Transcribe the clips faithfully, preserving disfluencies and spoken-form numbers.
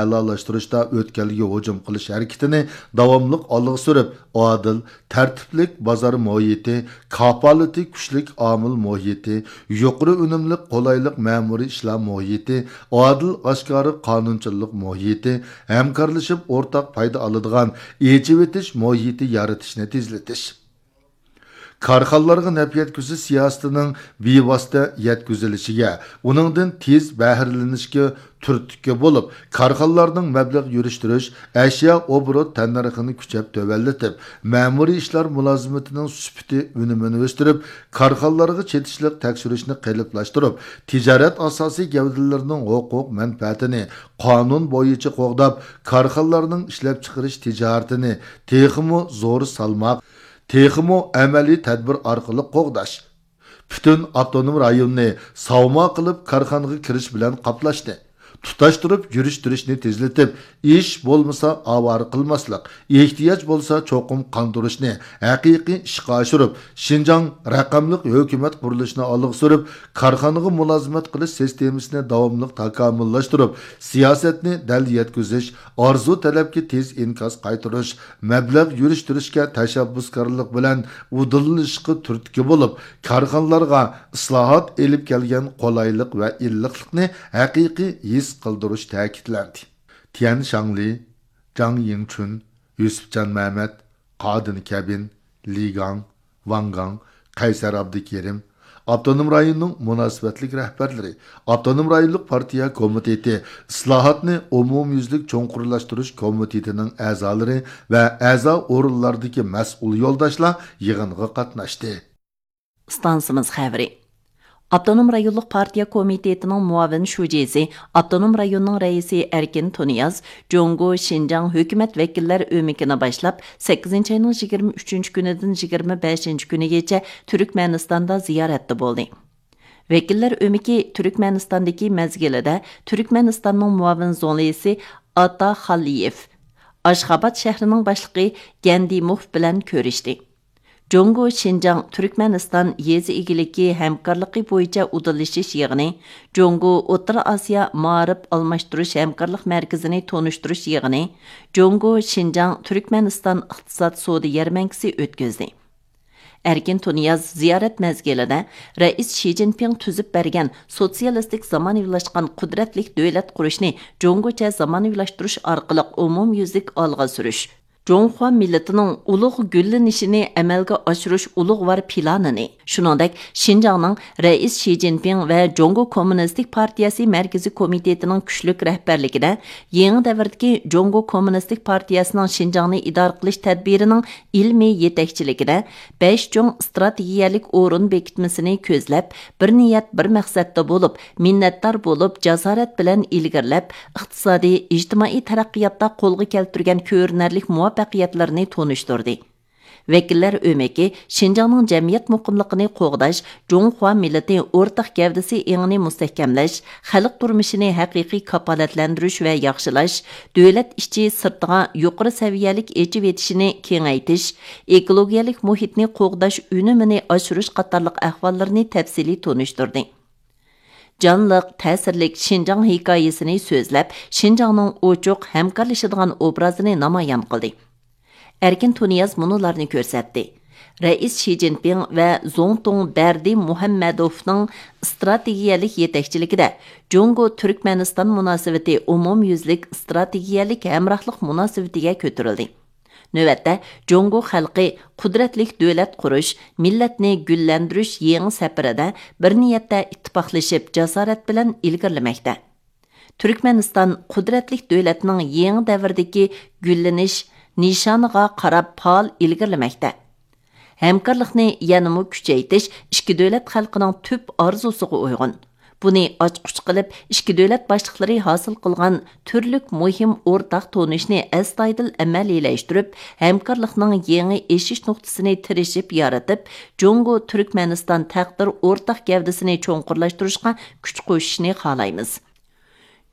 ئەلالاشتۇرۇشتا ئۆتكەلگە ھۇجۇم قىلىش ھەرىكىتىنى داۋاملىق ئالغا سۈرۈپ، ئادىل، تەرتىپلىك بازار مۇھىتى، كاپالىتى كۈچلۈك ئامىل مۇھىتى، يۇقىرى ئۈنۈملۈك، قولايلىق مەمۇرىي ئىشلار مۇھىتى، ئادىل، ئاشكارا قانۇنچىللىق مۇھىتى، ھەمكارلىشىپ ئورتاق پايدا ئالىدىغان ئېچىۋېتىش مۇھىتى يارىتىشنى تېزلىتىش. كارخانىلارغا نەپ يەتكۈزۈش سىياسىتىنىڭ بىۋاسىتە يەتكۈزۈلۈشىگە، ئۇنىڭدىن تېز بەھرىلىنىشكە تۈرتكە بولۇپ، كارخانىلارنىڭ مەبلەغ يۈرۈشتۈرۈش، ئەشيا ئوبوروت تەننەرخىنى كۈچەپ تۆۋەنلىتىپ، مەمۇرىي ئىشلار مۇلازىمىتىنىڭ سۈپىتى ئۈنۈمىنى ئۆستۈرۈپ، كارخانىلارغا چېتىشلىق تەكشۈرۈشنى قېلىپلاشتۇرۇپ، تىجارەت ئاساسىي گەۋدىلىرىنىڭ ھوقۇق مەنپەئەتىنى قانۇن بويىچە قوغداپ، كارخانىلارنىڭ ئىشلەپچىقىرىش تىجارىتىنى تېخىمۇ زور سالماق، تېخىمۇ ئەمەلىي تەدبىر ئارقىلىق قوغداش. پۈتۈن ئاپتونوم رايوننى ساۋما قىلىپ كارخانىغا كىرىش بىلەن قاپلاشنى، تۇتاشتۇرۇپ يۈرۈشتۈرۈشنى تېزلىتىپ، ئىش بولمىسا ئاۋارە قىلماسلىق، ئېھتىياج بولسا چوقۇم قاندۇرۇشنى ھەقىقىي ئىشقا ئاشۇرۇپ، شىنجاڭ رەقەملىك ھۆكۈمەت قۇرۇلۇشىنى ئالغا سۈرۈپ، كارخانىغا مۇلازىمەت قىلىش سىستېمىسىنى داۋاملىق تاكامۇللاشتۇرۇپ، سىياسەتنى دەل يەتكۈزۈش، ئارزۇ تەلەپكە تېز ئىنكاس قايتۇرۇش، مەبلەغ يۈرۈشتۈرۈشكە تەشەببۇسكارلىق بىلەن ئۇدۇللىنىشقا تۈرتكە بولۇپ، كارخانىلارغا ئىسلاھات ئېلىپ كەلگەن قولايلىق ۋە ئىللىقلىقنى ھەقىقىي ھېس قىلدۇرۇش تەكىتلەندى. تيەن شاڭلى، جاڭ يىڭچۈن، يۈسۈپجان مەمەت، قادىن كەبىن، لى گاڭ، ۋاڭ گاڭ، قەيسەر ئابدۇكېرىم، ئاپتونوم رايوننىڭ مۇناسىۋەتلىك رەھبەرلىرى، ئاپتونوم رايونلۇق پارتىيە كومىتېتى، ئىسلاھاتنى ئومۇميۈزلۈك چوڭقۇرلاشتۇرۇش كومىتېتىنىڭ ئەزالىرى ۋە ئەزا ئورۇنلاردىكى مەسئۇل يولداشلار يىغىنغا قاتناشتى. ئىستانسىمىز خەۋىرى. ئاپتونوم رايونلۇق پارتىيە كومىتېتىنىڭ مۇئاۋىن شۇجىسى، ئاپتونوم رايوننىڭ رەئىسى ئەركىن تۇنىياز جۇڭگو شىنجاڭ ھۆكۈمەت ۋەكىللەر ئۆمىكىنى باشلاپ، سەككىزىنچى ئاينىڭ يىگىرمە ئۈچىنچى كۈنىدىن يىگىرمە بەشىنچى كۈنىگىچە تۈركمەنىستاندا زىيارەتتە بولدى. ۋەكىللەر ئۆمىكى تۈركمەنىستاندىكى مەزگىلىدە تۈركمەنىستاننىڭ مۇئاۋىن زۇڭلىسى ئاتا خالىيېف، ئاشخاباد شەھىرىنىڭ باشلىقى گەندىموف بىلەن كۆرۈشتى. جۇڭگو شىنجاڭ تۈركمەنىستان يېزا ئىگىلىكى ھەمكارلىقى بويىچە ئۇدۇللىشىش يىغىنى، جۇڭگو ئوتتۇرا ئاسىيا مائارىپ ئالماشتۇرۇش ھەمكارلىق مەركىزىنى تونۇشتۇرۇش يىغىنى، جۇڭگو شىنجاڭ تۈركمەنىستان ئىقتىساد سودا يەرمەنكىسى ئۆتكۈزدى. ئەركىن تۇنىياز زىيارەت مەزگىلىدە رەئىس شى جىنپىڭ تۈزۈپ بەرگەن سوتسىيالىستىك زامانىۋىلاشقان قۇدرەتلىك دۆلەت قۇرۇشنى جۇڭگوچە زامانىۋىلاشتۇرۇش ئارقىلىق ئومۇميۈزلۈك ئالغا سۈرۈش، جۇڭخۇا مىللىتىنىڭ ئۇلۇغ گۈللىنىشىنى ئەمەلگە ئاشۇرۇش ئۇلۇغۋار پىلانىنى، شۇنىڭدەك شىنجاڭنىڭ رەئىس شى جىنپىڭ ۋە جۇڭگو كوممۇنىستىك پارتىيەسى مەركىزىي كومىتېتىنىڭ كۈچلۈك رەھبەرلىكىدە يېڭى دەۋردىكى جۇڭگو كوممۇنىستىك پارتىيەسىنىڭ شىنجاڭنى ئىدارە قىلىش تەدبىرىنىڭ ئىلمىي يېتەكچىلىكىدە بەش چوڭ ئىستراتېگىيەلىك ئورۇن بېكىتمىسىنى كۆزلەپ، بىر نىيەت، بىر مەقسەتتە بولۇپ، مىننەتدار بولۇپ، جاسارەت بىلەن ئىلگىرىلەپ، ئىقتىسادىي، ئىجتىمائىي تەرەققىياتتا قولغا كەلتۈرگەن كۆرۈنەرلىك مۇۋەپپەقىيەتلىرىنى تونۇشتۇردى. ۋەكىللەر ئۆمىكى شىنجاڭنىڭ جەمئىيەت مۇقىملىقىنى قوغداش، جۇڭخۇا مىللىتى ئورتاق گەۋدىسى ئېڭىنى مۇستەھكەملەش، خەلق تۇرمۇشىنى ھەقىقىي كاپالەتلەندۈرۈش ۋە ياخشىلاش، دۆلەت ئىچى سىرتىغا يۇقىرى سەۋىيەلىك ئېچىۋېتىشنى كېڭەيتىش، ئېكولوگىيەلىك مۇھىتنى قوغداش ئۈنۈمىنى ئاشۇرۇش قاتارلىق ئەھۋاللىرىنى تەپسىلىي تونۇشتۇردى. جانلىق، تەسىرلىك شىنجاڭ ھېكايىسىنى سۆزلەپ، شىنجاڭنىڭ ئوچۇق، ھەمكارلىشىدىغان ئوبرازىنى نامايان قىلدى. ئەركىن تۇنىياز مۇنۇلارنى كۆرسەتتى: رەئىس شى جىنپىڭ ۋە زۇڭتۇڭ بەردى مۇھەممەدوۋنىڭ ئىستراتېگىيەلىك يېتەكچىلىكىدە جۇڭگو تۈركمەنىستان مۇناسىۋىتى ئومۇميۈزلۈك ئىستراتېگىيەلىك ھەمراھلىق مۇناسىۋىتىگە كۆتۈرۈلدى. نۆۋەتتە، جۇڭگو خەلقى قۇدرەتلىك دۆلەت قۇرۇش، مىللەتنى گۈللەندۈرۈش يېڭى سەپىرىدە بىر نىيەتتە ئىتتىپاقلىشىپ، جاسارەت بىلەن ئىلگىرىلىمەكتە. تۈركمەنىستان قۇدرەتلىك دۆلەتنىڭ يېڭى دەۋردىكى گۈللىنىش نىشانىغا قاراپ پائال ئىلگىرىلىمەكتە. ھەمكارلىقنى يەنىمۇ كۈچەيتىش ئىككى دۆلەت خەلقىنىڭ تۈپ ئارزۇسىغا ئۇيغۇن. بۇنى ئاچقۇچ قىلىپ، ئىككى دۆلەت باشلىقلىرى ھاسىل قىلغان تۈرلۈك مۇھىم ئورتاق تونۇشنى ئەستايىدىل ئەمەلىيلەشتۈرۈپ، ھەمكارلىقنىڭ يېڭى ئېشىش نۇقتىسىنى تىرىشىپ يارىتىپ، جۇڭگو تۈركمەنىستان تەقدىر ئورتاق گەۋدىسىنى چوڭقۇرلاشتۇرۇشقا كۈچ قوشۇشنى خالايمىز.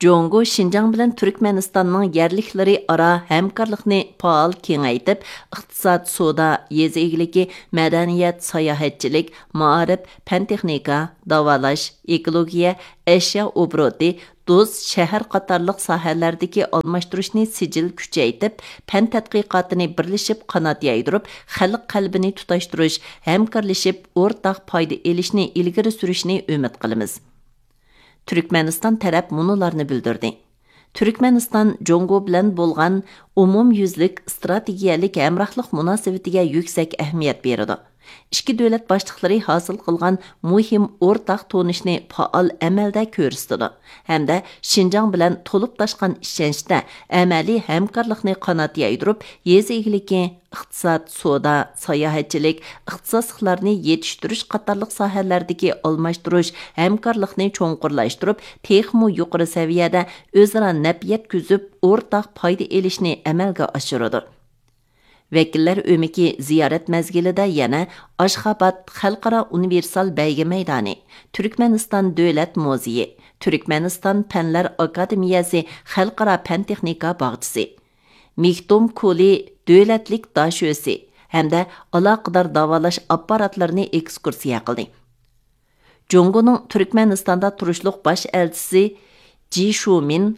جۇڭگو شىنجاڭ بىلەن تۈركمەنىستاننىڭ يەرلىكلىرى ئارا ھەمكارلىقنى پائال كېڭەيتىپ، ئىقتىساد، سودا، يېزا ئىگىلىكى، مەدەنىيەت، ساياھەتچىلىك، مائارىپ، پەن تېخنىكا، داۋالاش، ئېكولوگىيە، ئەشيا ئوبوروتى، دۇز، شەھەر قاتارلىق ساھەلەردىكى ئالماشتۇرۇشنى سىجىل كۈچەيتىپ، پەن تەتقىقاتىنى بىرلىشىپ قانات يايدۇرۇپ، خەلق قەلبىنى تۇتاشتۇرۇش، ھەمكارلىشىپ ئورتاق پايدا ئېلىشنى ئىلگىرى سۈرۈشنى ئۈمىد قىلىمىز. تۈركمەنىستان تەرەپ مۇنۇلارنى بىلدۈردى. تۈركمەنىستان جۇڭگو بىلەن بولغان ئومۇميۈزلۈك ئىستراتېگىيەلىك ھەمراھلىق مۇناسىۋىتىگە يۈكسەك ئەھمىيەت بېرىدۇ. ئىككى دۆلەت باشلىقلىرى ھاسىل قىلغان مۇھىم ئورتاق تونۇشنى پائال ئەمەلدە كۆرسىتىدۇ ھەمدە شىنجاڭ بىلەن تولۇپ تاشقان ئىشەنچتە ئەمەلىي ھەمكارلىقنى قانات يايدۇرۇپ، يېزا ئىگىلىكى، ئىقتىساد، سودا، ساياھەتچىلىك، ئىختىساسلىقلارنى يېتىشتۈرۈش قاتارلىق ساھەلەردىكى ئالماشتۇرۇش، ھەمكارلىقنى چوڭقۇرلاشتۇرۇپ، تېخىمۇ يۇقىرى سەۋىيەدە ئۆزئارا نەپ يەتكۈزۈپ، ئورتاق پايدا ئېلىشنى ئەمەلگە ئاشۇرىدۇ. ۋەكىللەر ئۆمىكى زىيارەت مەزگىلىدە يەنە ئاشخاباد خەلقئارا ئۇنىۋېرسال بەيگە مەيدانى، تۈركمەنىستان دۆلەت مۇزېيى، تۈركمەنىستان پەنلەر ئاكادېمىيەسى خەلقئارا پەن تېخنىكا باغچىسى، مىگتوم كولى دۆلەتلىك داشۆسى ھەمدە ئالاقىدار داۋالاش ئاپپاراتلىرىنى ئېكسكۇرسىيە قىلدى. جۇڭگونىڭ تۈركمەنىستاندا تۇرۇشلۇق باش ئەلچىسى جى شۇمىن،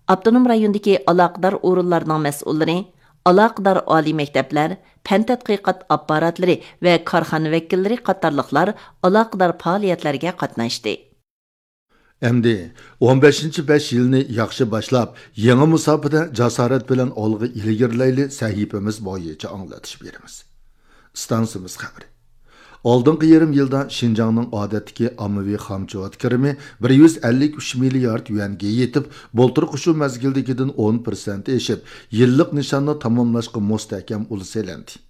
ئاپتونوم رايوندىكى ئالاقىدار ئورۇنلارنىڭ مەسئۇللىرى، ئالاقىدار ئالىي مەكتەپلەر، پەن تەتقىقات ئاپپاراتلىرى ۋە كارخانا ۋەكىللىرى قاتارلىقلار ئالاقىدار پائالىيەتلەرگە قاتناشتى. ئەمدى ئون بەشىنچى بەش يىلنى ياخشى باشلاپ، يېڭى مۇساپىدە جاسارەت بىلەن ئالغا ئىلگىرىلەيلى سەھىپىمىز بويىچە ئاڭلىتىش بېرىمىز. ئىستانسىمىز خەۋىرى. ئالدىنقى يېرىم يىلدا شىنجاڭنىڭ ئادەتتىكى ئاممىۋى خامچوت كىرىمى بىر يۈز ئەللىك ئۈچ مىليارد يۈەنگە يېتىپ، بۇلتۇرقى شۇ مەزگىلدىكىدىن ئون پىرسەنت ئېشىپ، يىللىق نىشاننى تاماملاشقا مۇستەھكەم ئۇل سېلىندى.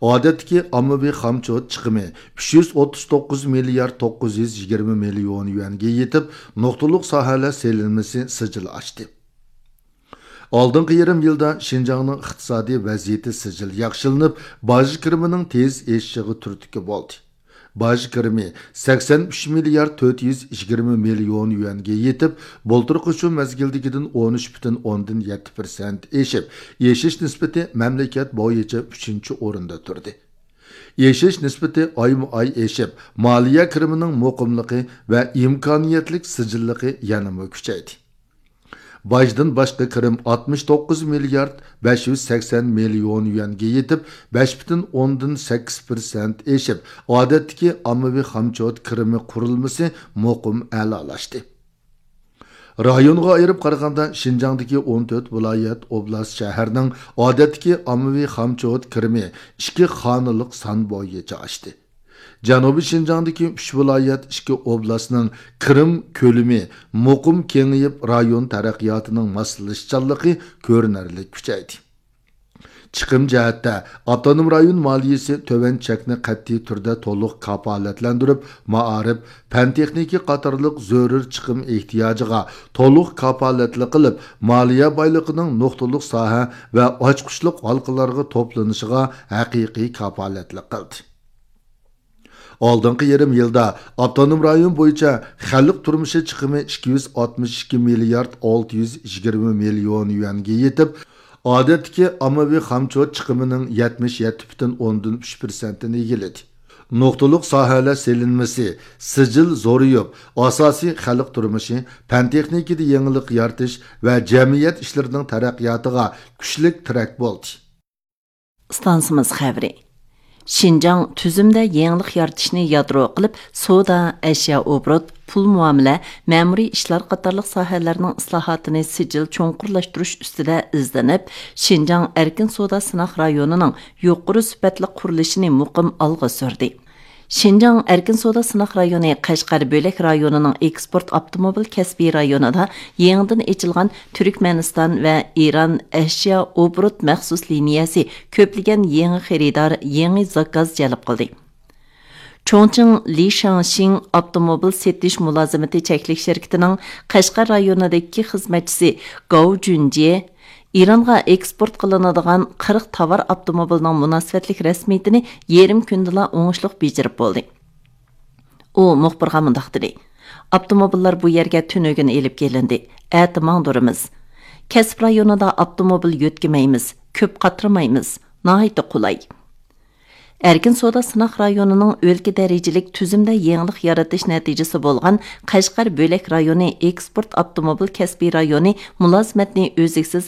ئادەتتىكى ئاممىۋى خامچوت چىقىمى ئۈچ يۈز ئوتتۇز توققۇز مىليارد توققۇز يۈز يىگىرمە مىليون يۈەنگە يېتىپ، نۇقتىلىق ساھەلەر سېلىنمىسى سىجىل ئاشتى. ئالدىنقى يېرىم يىلدا شىنجاڭنىڭ ئىقتىسادىي ۋەزىيىتى سىجىل ياخشىلىنىپ، باج كىرىمىنىڭ تېز ئېشىشىغا تۈرتكە بولدى. باج كىرىمى سەكسەن ئۈچ مىليارد تۆت يۈز يىگىرمە مىليون يۈەنگە يېتىپ، بۇلتۇرقى شۇ مەزگىلدىكىدىن ئون ئۈچ پۈتۈن ئوندىن يەتتە پىرسەنت ئېشىپ، ئېشىش نىسبىتى مەملىكەت بويىچە ئۈچىنچى ئورۇندا تۇردى. ئېشىش نىسبىتى ئايمۇ ئاي ئېشىپ، مالىيە كىرىمىنىڭ مۇقىملىقى ۋە ئىمكانىيەتلىك سىجىللىقى يەنىمۇ كۈچەيدى. باجدىن باشقا كىرىم ئاتمىش توققۇز مىليارد بەش يۈز سەكسەن مىليون يۈەنگە يېتىپ، بەش پۈتۈن ئوندىن سەككىز پىرسەنت ئېشىپ، ئادەتتىكى ئاممىۋى خامچوت كىرىمى قۇرۇلمىسى مۇقىم ئەلالاشتى. رايونغا ئايرىپ قارىغاندا، شىنجاڭدىكى ئون تۆت ۋىلايەت، ئوبلاست، شەھەرنىڭ ئادەتتىكى ئاممىۋى خامچوت كىرىمى ئىككى خانىلىق سان بويىچە ئاشتى. جەنۇبىي شىنجاڭدىكى ئۈچ ۋىلايەت، ئىككى ئوبلاستنىڭ كىرىم كۆلىمى مۇقىم كېڭىيىپ، رايون تەرەققىياتىنىڭ ماسلىشىشچانلىقى كۆرۈنەرلىك كۈچەيدى. چىقىم جەھەتتە، ئاپتونوم رايون مالىيىسى تۆۋەن چەكنى قەتئىي تۈردە تولۇق كاپالەتلەندۈرۈپ، مائارىپ، پەن تېخنىكا قاتارلىق زۆرۈر چىقىم ئېھتىياجىغا تولۇق كاپالەتلىك قىلىپ، مالىيە بايلىقىنىڭ نۇقتىلىق ساھە ۋە ئاچقۇچلۇق ھالقىلارغا توپلىنىشىغا ھەقىقىي كاپالەتلىك قىلدى. ئالدىنقى يېرىم يىلدا ئاپتونوم رايون بويىچە خەلق تۇرمۇشى چىقىمى ئىككى يۈز ئاتمىش ئىككى مىليارد ئالتە يۈز يىگىرمە مىليون يۈەنگە يېتىپ، ئادەتتىكى ئاممىۋى خامچوت چىقىمىنىڭ يەتمىش يەتتە پۈتۈن ئوندىن ئۈچ پىرسەنتىنى ئىگىلىدى. نۇقتىلىق ساھەلەر سېلىنمىسى سىجىل زورىيىپ، ئاساسىي خەلق تۇرمۇشى، پەن تېخنىكىدا يېڭىلىق يارىتىش ۋە جەمئىيەت ئىشلىرىنىڭ تەرەققىياتىغا كۈچلۈك تىرەك بولدى. ئىستانسىمىز خەۋىرى. شىنجاڭ تۈزۈمدە يېڭىلىق يارىتىشنى يادرو قىلىپ، سودا، ئەشيا ئوبوروت، پۇل مۇئامىلە، مەمۇرىي ئىشلار قاتارلىق ساھەلەرنىڭ ئىسلاھاتىنى سىجىل چوڭقۇرلاشتۇرۇش ئۈستىدە ئىزدىنىپ، شىنجاڭ ئەركىن سودا سىناق رايونىنىڭ يۇقىرى سۈپەتلىك قۇرۇلۇشىنى مۇقىم ئالغا سۈردى. شىنجاڭ ئەركىن سودا سىناق رايونى قەشقەر بۆلەك رايونىنىڭ ئېكسپورت ئاپتوموبىل كەسپىي رايونىدا يېڭىدىن ئېچىلغان تۈركمەنىستان ۋە ئىران ئەشيا ئوبوروت مەخسۇس لىنىيەسى كۆپلىگەن يېڭى خېرىدار، يېڭى زاكاز جەلپ قىلدى. چۇڭچىڭ لىشاڭشىڭ ئاپتوموبىل سېتىش مۇلازىمىتى چەكلىك شىركىتىنىڭ قەشقەر رايونىدىكى خىزمەتچىسى گاۋ جۈنجيې ئىرانغا ئېكسپورت قىلىنىدىغان قىرىق تاۋار ئاپتوموبىلىنىڭ مۇناسىۋەتلىك رەسمىيىتىنى يېرىم كۈندىلا ئوڭۇشلۇق بېجىرىپ بولدى. ئۇ مۇخبىرغا مۇنداق دېدى: ئاپتوموبىللار بۇ يەرگە تۈنۈگۈن ئېلىپ كېلىندى، ئەتە ماڭدۇرىمىز. كەسىپ رايونىدا ئاپتوموبىل يۆتكىمەيمىز، كۆپ قاترىمايمىز، ناھايىتى قولاي. ئەركىن سودا سىناق رايونىنىڭ ئۆلكە دەرىجىلىك تۈزۈمدە يېڭىلىق يارىتىش نەتىجىسى بولغان قەشقەر بۆلەك رايونى ئېكسپورت ئاپتوموبىل كەسپىي رايونى مۇلازىمەتنى ئۈزلۈكسىز